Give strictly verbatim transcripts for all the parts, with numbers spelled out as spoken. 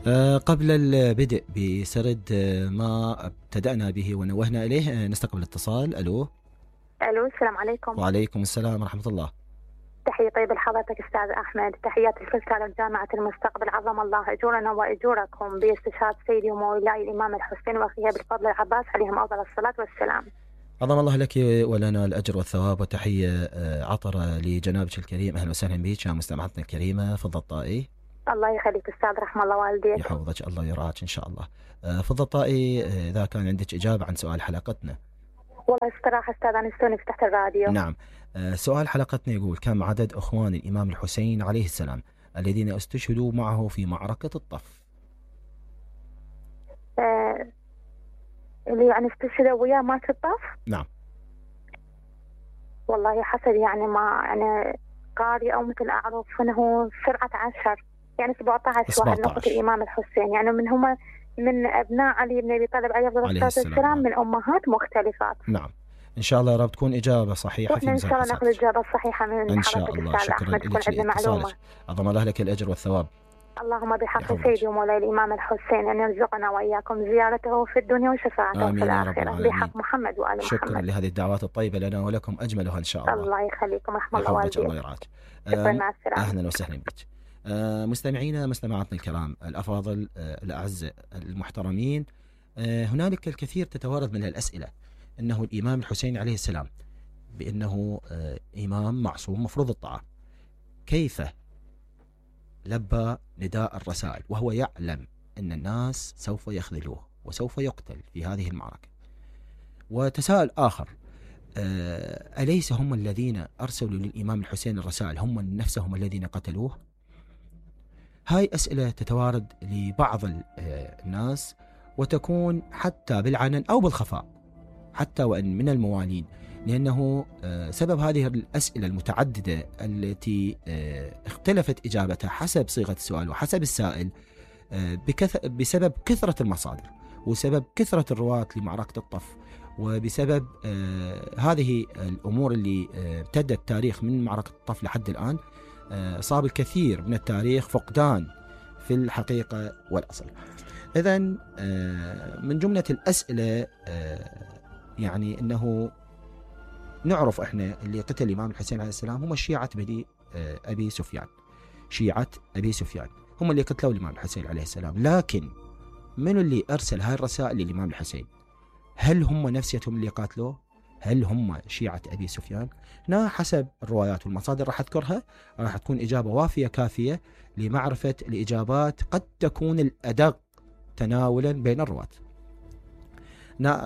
أه قبل البدء بسرد ما ابتدأنا به ونوهنا إليه نستقبل اتصال. ألو. ألو السلام عليكم. وعليكم السلام ورحمة الله. تحية طيبة لحضرتك أستاذ أحمد، تحياتي لكل جامعة المستقبل، عظم الله أجورنا وأجوركم باستشهاد سيدي ومولاي الإمام الحسين وأخيه بالفضل العباس عليهم أفضل الصلاة والسلام. عظم الله لك ولنا الأجر والثواب، وتحية عطرة لجنابك الكريم. أهلا وسهلا بك يا مستمعتنا الكريمة. فضل الطائي. الله يخليك أستاذ، رحم الله والديك. يحفظك الله ويرعاك إن شاء الله. فضل الطائي، إذا كان عندك إجابة عن سؤال حلقتنا. والله استراحة أستاذ، أنا استوني فتحت الراديو. نعم. سؤال حلقتنا يقول: كم عدد أخوان الإمام الحسين عليه السلام الذين استشهدوا معه في معركة الطف؟ آه اللي يعني استشهدوا وياه مات الطف؟ نعم. والله حسب يعني ما يعني قاري أو مثل أعرف أنه سرعة عشر يعني سبعة عشر واحد نقطة الإمام الحسين، يعني من هم من أبناء علي بن أبي طالب عليه الصلاة والسلام من أمهات مختلفات. نعم. إن شاء الله يا رب تكون إجابة صحيحة في ميزان حسناتك. إن شاء الله نأخذ الإجابة الصحيحة من إن شاء الله. شكرا لك. عظم الله لك الأجر والثواب. اللهم بحق سيدي ومولاي الإمام الحسين أن يرزقنا وإياكم زيارته في الدنيا وشفاعته في الآخرة بحق محمد وآل محمد. شكرا لهذه الدعوات الطيبة لنا ولكم أجملها إن شاء الله. الله يخليكم، رحم الله والديك. الله يرعاك. أهلا وسهلا بك. مستمعينا مستمعاتنا الكرام الأفاضل الأعزاء المحترمين، هنالك الكثير تتوارد من الأسئلة أنه الإمام الحسين عليه السلام بأنه إمام معصوم مفروض الطاعة، كيف لبى نداء الرسائل وهو يعلم أن الناس سوف يخذلوه وسوف يقتل في هذه المعركة؟ وتساؤل آخر: أليس هم الذين أرسلوا للإمام الحسين الرسائل هم نفسهم الذين قتلوه؟ هاي أسئلة تتوارد لبعض الناس وتكون حتى بالعلن أو بالخفاء حتى وأن من الموالين، لأنه سبب هذه الأسئلة المتعددة التي اختلفت إجابتها حسب صيغة السؤال وحسب السائل بسبب كثرة المصادر وسبب كثرة الرواة لمعركة الطف، وبسبب هذه الأمور اللي امتدت التاريخ من معركة الطف لحد الآن صاب الكثير من التاريخ فقدان في الحقيقة والأصل. إذن من جملة الأسئلة يعني أنه نعرف إحنا اللي قتل الإمام الحسين عليه السلام هم شيعة بني أبي سفيان، شيعة أبي سفيان هم اللي قتلوا الإمام الحسين عليه السلام، لكن من اللي أرسل هاي الرسائل للإمام الحسين؟ هل هم نفسيتهم اللي قاتلوه؟ هل هم شيعة أبي سفيان؟ هنا حسب الروايات والمصادر راح أذكرها راح تكون إجابة وافية كافية لمعرفة الإجابات، قد تكون الأدق تناولا بين الرواة.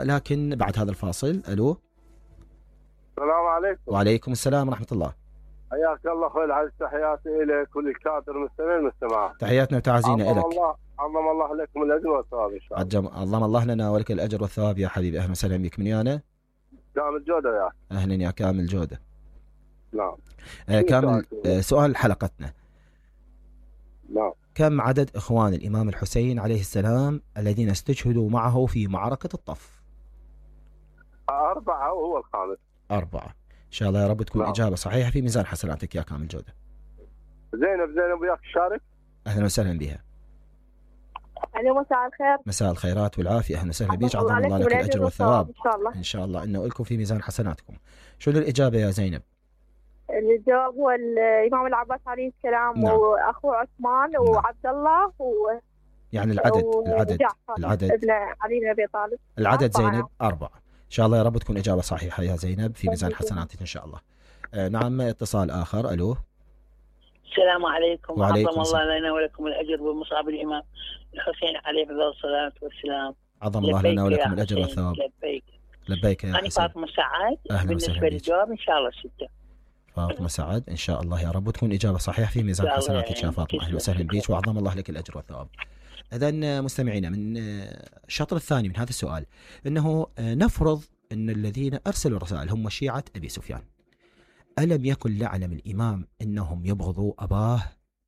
لكن بعد هذا الفاصل. ألو. السلام عليكم. وعليكم السلام ورحمة الله. حياك الله أخوي العزيز، تحياتي إليك وللكادر المستمعين والمستمعات. تحياتنا وتعازينا إليك. الله عظم الله لكم الأجر والثواب إن شاء الله. عظم الله لنا ولك الأجر والثواب يا حبيبي. أهلا وسهلا بك. من يانا؟ كامل جودة يا أهلا يا كامل جودة. نعم. آه كامل. آه سؤال حلقتنا. نعم. كم عدد إخوان الإمام الحسين عليه السلام الذين استشهدوا معه في معركة الطف؟ أربعة وهو الخامس. أربعة. إن شاء الله يا رب تكون نعم. إجابة صحيحة في ميزان حسناتك يا كامل جودة. زينب زينب وياك الشارك. أهلا وسهلا بها. أهلا مساء الخير. مساء الخيرات والعافية. أهلا وسهلا بك. عظم الله لك الأجر والثواب. إن شاء الله. إن شاء الله إنه لكم في ميزان حسناتكم. شنو الإجابة يا زينب؟ الجواب هو الإمام العباس عليه السلام. نعم. وأخوه عثمان. نعم. وعبد الله و... يعني العدد العدد العدد ابن علي بن أبي طالب. العدد أربعة. زينب أربعة. إن شاء الله يا رب تكون إجابة صحيحة يا زينب في ميزان حسناتك إن شاء الله. آه نعم. اتصال آخر. ألو. السلام عليكم. وعليكم عظم الله لنا ولكم الأجر ومصاب الإمام الحسين عليه الصلاة والسلام. عظم الله لنا ولكم الأجر والثواب. لبيك. لبيك يا أنا فاطمة سعد. أهلا بالنسبة للجواب إن شاء الله ستة. فاطمة سعد إن شاء الله يا رب تكون إجابة صحيحة في ميزان حسناتك يا فاطمة. أهلا وسهلا بك وعظم الله لك الأجر والثواب. إذن مستمعينا من الشطر الثاني من هذا السؤال أنه نفرض أن الذين أرسلوا الرسائل هم شيعة أبي سفيان، ألم يكن لعلم الإمام أنهم يبغضوا أباه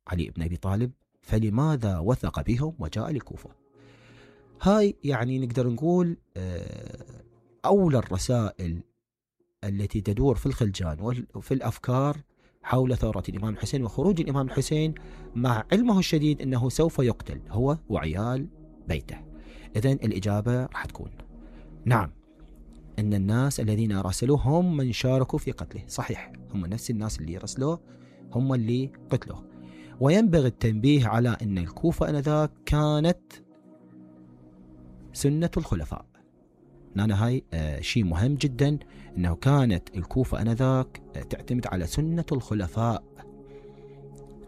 علي بن أبي طالب، فلماذا وثق بهم وجاء للكوفة؟ هاي يعني نقدر نقول أولى الرسائل التي تدور في الخلجان وفي الأفكار حول ثورة الإمام الحسين وخروج الإمام الحسين مع علمه الشديد أنه سوف يقتل هو وعيال بيته. إذن الإجابة راح تكون نعم، أن الناس الذين راسلوه هم من شاركوا في قتله. صحيح، هم نفس الناس اللي رسلوه هم اللي قتلوه. وينبغي التنبيه على أن الكوفة آنذاك كانت سنة الخلفاء. أنا هاي آه شيء مهم جدا، أنه كانت الكوفة آنذاك آه تعتمد على سنة الخلفاء.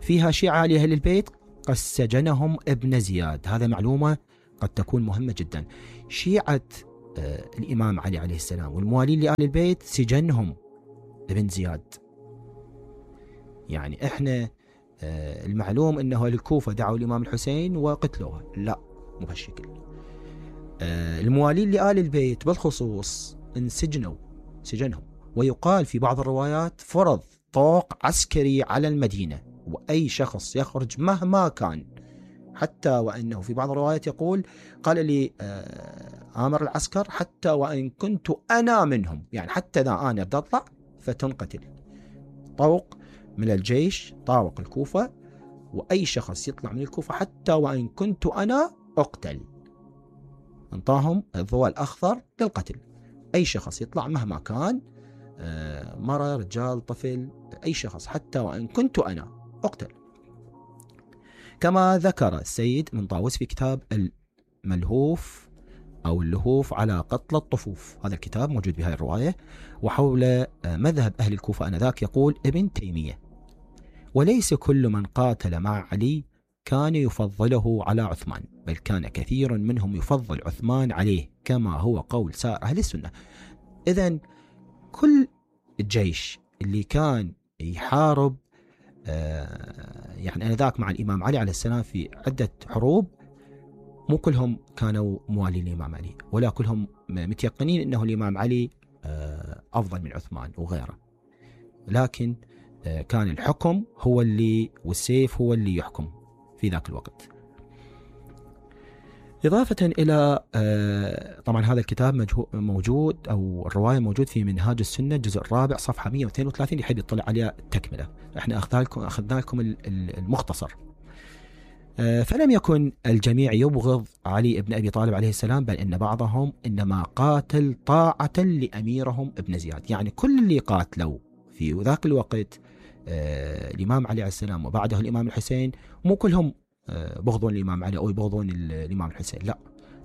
فيها شيعة لأهل البيت قد سجنهم ابن زياد، هذا معلومة قد تكون مهمة جدا. شيعة آه الإمام علي عليه السلام والموالين لآل البيت سجنهم ابن زياد. يعني إحنا آه المعلوم أنه الكوفة دعوا الإمام الحسين وقتلوه، لا مو بهالشكل. آه الموالين لآل البيت بالخصوص انسجنوا سجنهم. ويقال في بعض الروايات فرض طوق عسكري على المدينة، وأي شخص يخرج مهما كان، حتى وأنه في بعض الروايات يقول قال لي آه آمر العسكر حتى وإن كنت أنا منهم، يعني حتى إذا أنا بدي أطلع فتنقتل. طوق من الجيش طاوق الكوفة، وأي شخص يطلع من الكوفة حتى وإن كنت أنا أقتل. انطاهم الضوء الأخضر للقتل. أي شخص يطلع مهما كان، آه مرة رجال طفل، أي شخص حتى وإن كنت أنا أقتل. كما ذكر السيد من طاووس في كتاب الملهوف أو اللهوف على قتل الطفوف، هذا الكتاب موجود بهذه الرواية. وحول مذهب أهل الكوفة آنذاك يقول ابن تيمية: وليس كل من قاتل مع علي كان يفضله على عثمان، بل كان كثير منهم يفضل عثمان عليه، كما هو قول سائر أهل السنة. إذن كل الجيش اللي كان يحارب آه يعني آنذاك مع الإمام علي عليه السلام في عدة حروب، مو كلهم كانوا موالين الإمام علي، ولا كلهم متيقنين أنه الإمام علي آه أفضل من عثمان وغيره، لكن آه كان الحكم هو اللي والسيف هو اللي يحكم في ذاك الوقت. إضافة إلى آه طبعا هذا الكتاب موجود أو الرواية موجود في منهاج السنة الجزء الرابع صفحة مئة واثنين وثلاثين اللي يحب يطلع عليها تكملة. احنا أخذنا لكم أخذنا لكم المختصر. آه فلم يكن الجميع يبغض علي بن أبي طالب عليه السلام، بل إن بعضهم إنما قاتل طاعة لأميرهم ابن زياد. يعني كل اللي قاتلوا في ذاك الوقت آه الإمام علي عليه السلام وبعده الإمام الحسين مو كلهم بغضون الإمام علي أو يبغضون الإمام الحسين، لا،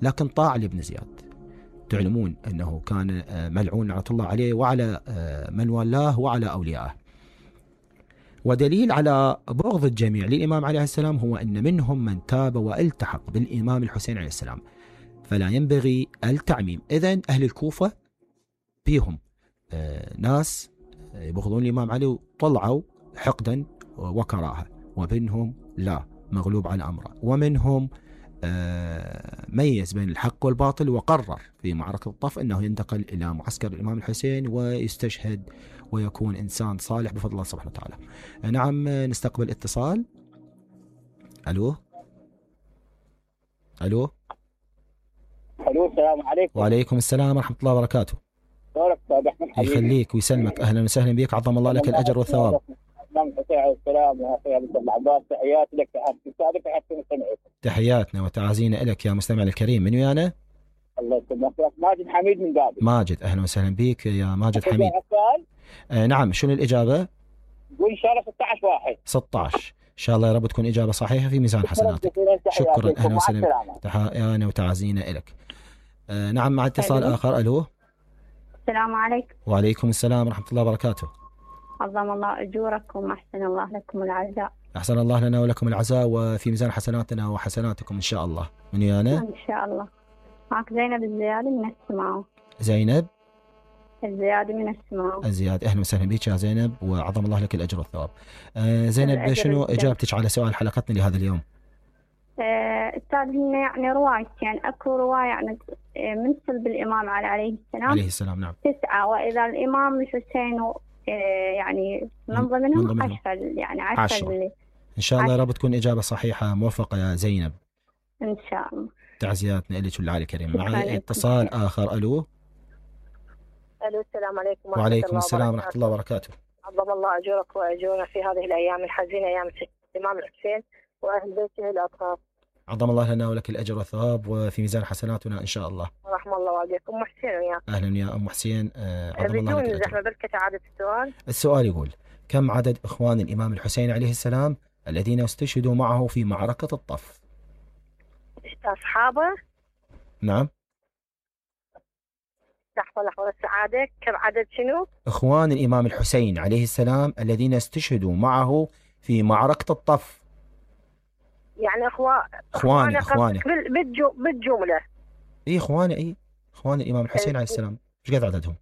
لكن طاعة لابن زياد. تعلمون أنه كان ملعون لعنة الله عليه وعلى من والاه وعلى أوليائه. ودليل على بغض الجميع للإمام عليه السلام هو أن منهم من تاب والتحق بالإمام الحسين عليه السلام، فلا ينبغي التعميم. إذن أهل الكوفة بيهم ناس يبغضون الإمام علي وطلعوا حقدا وكراهة، وبينهم لا، مغلوب على أمره. ومنهم ميز بين الحق والباطل وقرر في معركة الطف أنه ينتقل إلى معسكر الإمام الحسين ويستشهد ويكون إنسان صالح بفضل الله سبحانه وتعالى. نعم، نستقبل اتصال. ألو ألو ألو السلام عليكم. وعليكم السلام ورحمة الله وبركاته. يخليك ويسلمك، أهلا وسهلا بك، عظم الله لك الأجر والثواب. السلام يا اخي ابو العباس، تحياتي لك، تحياتي تحياتي مستمعيك. تحياتنا وتعازينا لك يا مستمع الكريم. من ويانا؟ الله يسلمك، ماجد حميد من بابل. ماجد، اهلا وسهلا بك يا ماجد حميد. آه نعم، شنو الاجابه؟ قول ان شاء الله ستة عشر واحد. ستة عشر ان شاء الله، يا رب تكون اجابه صحيحه في ميزان حسناتك. شكرا، اهلا وسهلا، تحياتنا وتعازينا لك. آه نعم، مع اتصال أيوه. اخر. الو السلام عليكم. وعليكم السلام ورحمه الله وبركاته. عظم الله أجوركم، أحسن الله لكم العزاء. أحسن الله لنا ولكم العزاء، وفي ميزان حسناتنا وحسناتكم إن شاء الله. من ويانا؟ إن شاء الله. معك زينب الزيادي من السماو. زينب الزيادي من السماو. الزيادي، أهلا وسهلا بك يا زينب، وعظم الله لك الأجر والثواب. آه زينب، شنو إجابتك على سؤال حلقتنا لهذا اليوم؟ آه أستاذ، هنا يعني روايتين، أكو رواية يعني من سلب الإمام علي عليه السلام عليه السلام نعم تسعة، وإذا الإمام الحسين يعني من ضمنهم عشرة، يعني عشرة. إن شاء الله يا رب تكون إجابة صحيحة موفقة يا زينب. إن شاء الله. تعزياتنا لك والعالي الكريم. معي اتصال آخر. ألو ألو السلام عليكم. وعليكم السلام ورحمة الله وبركاته. عظم الله أجورك وأجورنا في هذه الأيام الحزينة، أيام الإمام الحسين وأهل بيته الأطهار. عظم الله لنا ولك الأجر والثواب وفي ميزان حسناتنا إن شاء الله. رحم الله والديك. أم حسين وياك. أهلا يا أم حسين. عظم الله لك بدون زحمة بركة عادة السؤال. السؤال يقول: كم عدد إخوان الإمام الحسين عليه السلام الذين استشهدوا معه في معركة الطف؟ أصحابه؟ نعم. لحظة لحظة السعادة، كم عدد شنو؟ إخوان الإمام الحسين عليه السلام الذين استشهدوا معه في معركة الطف. يعني إخوان إخواني إخواني بالجو... بالجملة. إيه إخواني إيه إخوان الإمام الحسين عليه السلام، إيش قد عددهم؟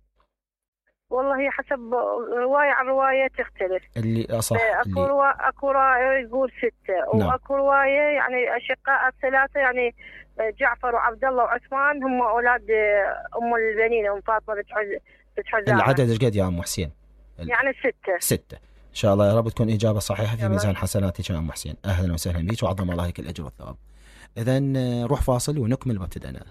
والله هي حسب رواية عن رواية تختلف. اللي أصح أكو اللي... روا... أكو رواية يقول ستة، نعم. وأكو رواية يعني أشقاء الثلاثة يعني جعفر وعبد الله وعثمان هم أولاد أم البنين أم فاطمة بنت حزام. العدد إيش قد يا أم حسين؟ يعني ستة. ستة إن شاء الله، يا رب تكون إجابة صحيحة في ميزان حسناتك يا أم حسين. أهلا وسهلا بك وعظم الله لك الأجر والثواب. إذن روح فاصل ونكمل ما ابتدأنا.